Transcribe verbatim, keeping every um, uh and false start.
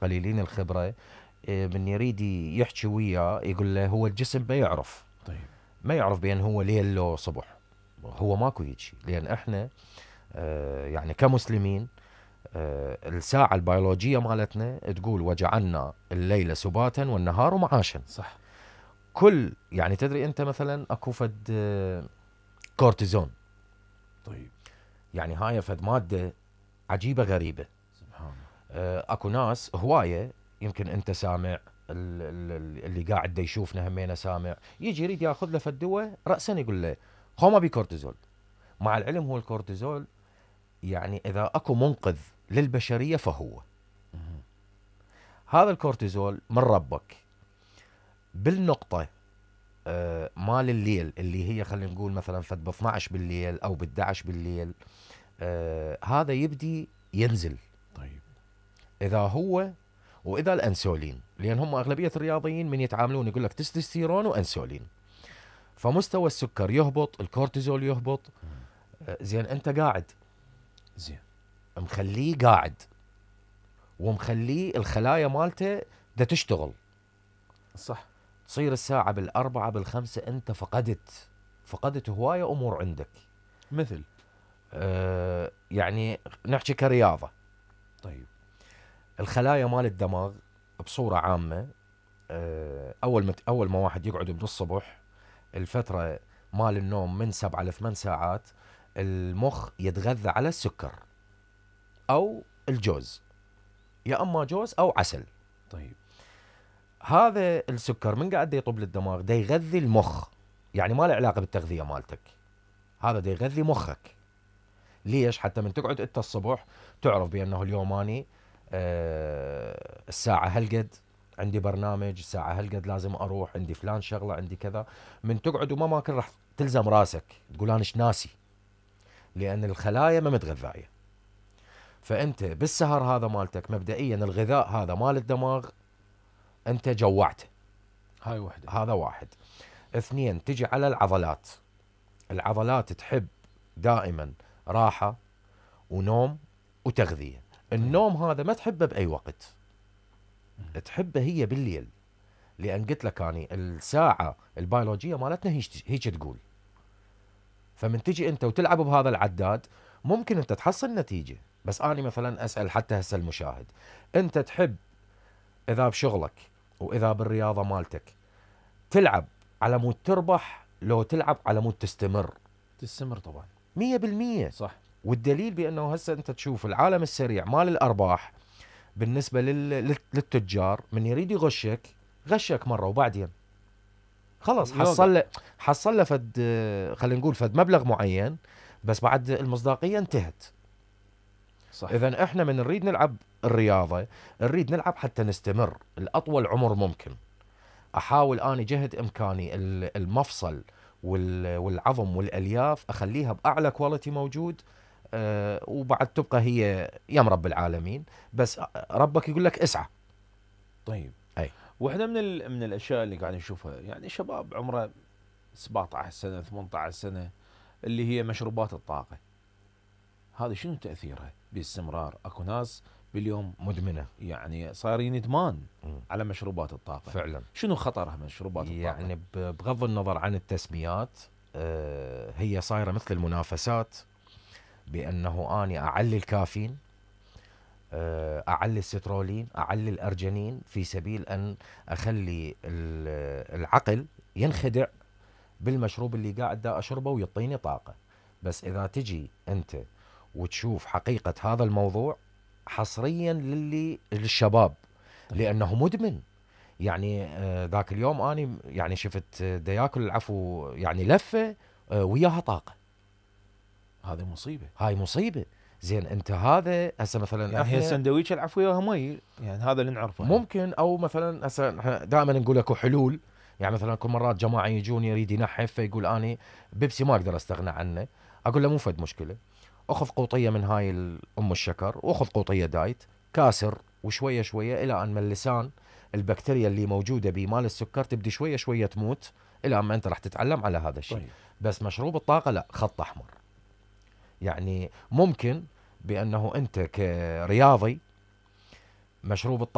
قليلين الخبرة، من يريد يحكي وياه يقول له هو الجسم ما يعرف. طيب. ما يعرف بأن هو ليل لو صبح، هو ماكو هيك. لأن احنا آه يعني كمسلمين آه الساعة البيولوجية مالتنا تقول وجعلنا الليل سباتا والنهار معاشا. صح. كل يعني تدري انت مثلا اكو فد آه كورتيزون. طيب. يعني هاي فد مادة عجيبة غريبة. سبحان الله. آه اكو ناس هواية، يمكن انت سامع، اللي قاعد دا يشوفنا همينه سامع، يجي يريد ياخذ له فد دواء راسا يقول له هو ما بي كورتيزول. مع العلم هو الكورتيزول يعني اذا اكو منقذ للبشريه فهو مم. هذا الكورتيزول من ربك بالنقطه آه مال الليل، اللي هي خلينا نقول مثلا فد ب اثنعش بالليل او ب احد عشر بالليل، آه هذا يبدي ينزل. طيب. اذا هو واذا الانسولين، لان هم اغلبيه الرياضيين من يتعاملون يقول لك تستوستيرون وانسولين، فمستوى السكر يهبط، الكورتيزول يهبط. آه زين انت قاعد زين مخليه قاعد ومخليه الخلايا مالته دا تشتغل. صح. تصير الساعة بالأربعة بالخمسة أنت فقدت فقدت هواية أمور عندك. مثل آه يعني نحكي كرياضة. طيب. الخلايا مال الدماغ بصورة عامة آه أول ما أول ما واحد يقعد من الصبح، الفترة مال النوم من سبعة لثمان ساعات، المخ يتغذى على السكر أو الجوز، يا أما جوز أو عسل. طيب. هذا السكر من قاعد يطب للدماغ دا يغذي المخ، يعني ما له علاقة بالتغذية مالتك، هذا دا يغذي مخك. ليش؟ حتى من تقعد انت الصبح تعرف بأنه اليوم اني آه الساعة هالقد عندي برنامج، الساعة هالقد لازم اروح، عندي فلان شغلة، عندي كذا. من تقعد وما ماكل راح تلزم راسك تقول انا ايش ناسي، لأن الخلايا ما متغذاية. فأنت بالسهر هذا مالتك مبدئيا الغذاء هذا مال الدماغ أنت جوعته. هاي وحدة. هذا واحد. اثنين، تجي على العضلات. العضلات تحب دائما راحة ونوم وتغذية. النوم هذا ما تحبه بأي وقت، تحبه هي بالليل، لأن قلت لك أني الساعة البيولوجية مالتنا هيك هيك تقول. فمن تجي أنت وتلعب بهذا العداد ممكن أنت تحصل نتيجة. بس أنا مثلا أسأل حتى هسه المشاهد، أنت تحب إذا بشغلك وإذا بالرياضة مالتك تلعب على مود تربح لو تلعب على مود تستمر؟ تستمر طبعا مية بالمية. صح. والدليل بأنه هسه أنت تشوف العالم السريع مال الأرباح بالنسبة لل... للتجار، من يريد يغشك غشك مرة وبعدين خلص حصل له حصل له فد خلينا نقول فد مبلغ معين، بس بعد المصداقية انتهت. صح. إذن إحنا من نريد نلعب الرياضة نريد نلعب حتى نستمر الأطول عمر ممكن. أحاول أني جهد إمكاني المفصل والعظم والألياف أخليها بأعلى كواليتي موجود. أه وبعد تبقى هي يم رب العالمين، بس ربك يقول لك اسعى. طيب. أي واحدة من من الأشياء اللي قاعد نشوفها يعني شباب عمره سبعة عشر سنة ثمانية عشر سنة، اللي هي مشروبات الطاقة، هذا شنو تأثيرها باستمرار؟ أكو ناس باليوم مدمنة، يعني صايرين إدمان م. على مشروبات الطاقة. فعلا. شنو خطرها مشروبات الطاقة؟ يعني بغض النظر عن التسميات أه هي صايرة مثل المنافسات، بأنه أني أعلي الكافيين، أعلي السترولين، أعلي الأرجنين، في سبيل أن أخلي العقل ينخدع بالمشروب اللي قاعد دا أشربه ويعطيني طاقة. بس إذا تجي أنت وتشوف حقيقة هذا الموضوع حصريا للي للشباب، لأنه مدمن. يعني ذاك اليوم أنا يعني شفت دا ياكل العفو يعني لفة وياها طاقة. هذه مصيبة. هاي مصيبة. زين انت هذا هسه مثلا يعني هي السندويشه العفو وياها مي، يعني هذا اللي نعرفه ممكن. او مثلا هسه دائما نقول لكم حلول. يعني مثلا كل مرات جماعه يجون يريد ينحف فيقول اني بيبسي ما اقدر استغنى عنه، اقول له مو فد مشكله، اخذ قوطيه من هاي ام الشكر واخذ قوطيه دايت كاسر، وشويه شويه الى ان من اللسان البكتيريا اللي موجوده بمال السكر تبدي شويه شويه تموت، الى ما انت راح تتعلم على هذا الشيء. طيب. بس مشروب الطاقه لا، خط احمر. يعني ممكن بأنه أنت كرياضي مشروب الطاقة